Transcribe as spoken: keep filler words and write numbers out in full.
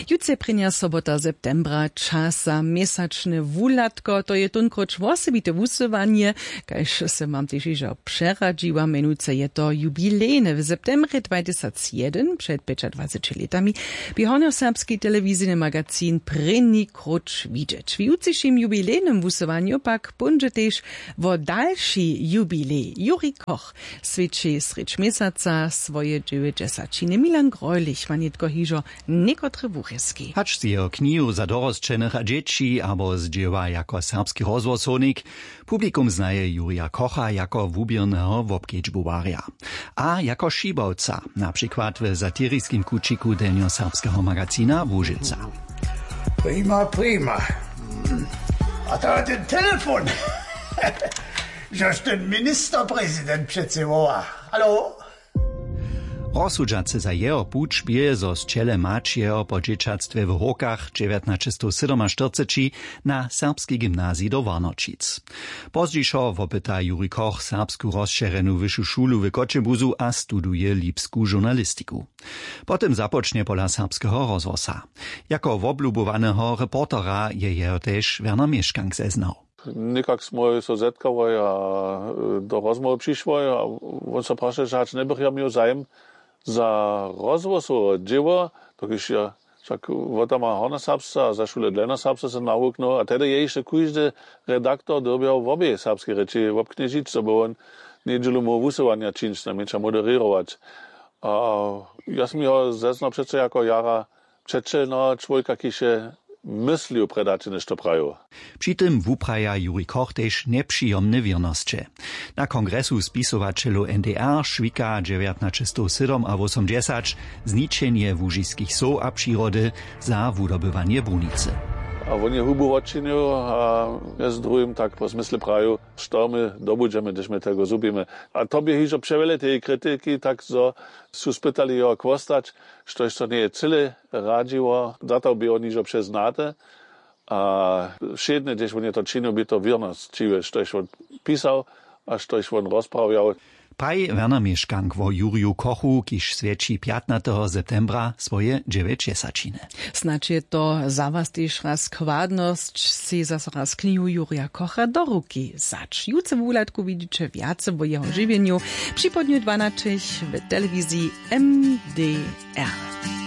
Jutře prěnja sobota septembra, čas za měsačne wuhladko, to je tónkróć wosebite wusyłanje, kaž se mam tež hižo přeradźiła, mjenujcy je to jubilejne. W septembrje dwatysacjedyn, před pjećadwaceći lětami, bě hornjoserbski telewizijny magazin prěni króć widźeć. W jutřišim jubilejnym wusyłanju pak póńdźe tež wo dalši jubilej. Juri Koch swjeći srjedź měsaca swoje dźewjećdźesaćiny. Milan Greulich ma nětko hižo někotre wurězki. Hač z jeho knihu za dorosćenych a dźěći abo z dźěła jako serbski rozhłosownik, publikum znaje Jurija Kocha jako wuběrneho wobkedźbowarja a jako šibawca, na přikład w satiriskim kućiku delnjoserbskeho magazina Łužica. Prima, prima. A to je ten telefon. Žož ten ministerprezident přece woła. Halo? Rozsudźace za jeho puć bě, zo z ćele mać jeho po dźěćatstwje w Hórkach dźewjatnaćestow sydomaštyrceći na serbski gymnazij do Warnoćic. Pozdźišo wopyta Juri Koch serbsku rozšěrjenu wyšu šulu w Choćebuzu a studuje lipsku žurnalistiku. Potom započnje pola serbskeho rozhłosa. Jako woblubowaneho reportera je jeho tež Werner Měškank zeznał. Někak smój so zetkałoj a do rozmołwy přišłoj a wón so prašeše, hač njebych ja měł zajim za rozhłosowe dźěło, dokelž ja wšak wotama hornjoserbsce a za šule delnjoserbsce se nawuknył a tehdy je hišće kóždy redaktor dyrbjał wobě serbske rěči wobknježić, zo by wón njedźelu móhł wusyłanja čińć, najmjenša moderěrować. A ja smy jeho zeznał přeco jako jara přećelneho čłowjeka, kiž je myslił prjedy hač něšto prajił. Při tym wupraja Juri Koch tež njepřijomne wěrnosće. Na kongresu spisowaćelow N D R šwika dźewjatnaćestow sydomawosomdźesać zničenje łužiskich sow a přirody za wudobywanje brunicy. A wón je hubu wotčinił a mjez druhim tak po zmysle prajił, što my dobudźemy, hdyž my tego zhubimy. A to bě hižo přewjele tej kritiki, tak zo su spytali jeho chłostać, štož to njeje cyle radźiło, za to bě wón hižo přeznate. A wšědne, hdyž wón je to činił, bě to wěrnosćiwe, štož wón pisał a štož wón rozprawjał. Praji Werner Měškank wo Juriju Kochu, kiž swjeći pjatnateho septembra swoje dźewjećdźesaćiny. Snadź je to za was tež raz kładnosć, sej zaso raz knihu Jurija Kocha do ruki wzać. Jutře w wuhladku widźiće wjace wo jeho žiwjenju při połdnju dwanaćich w telewiziji M D R.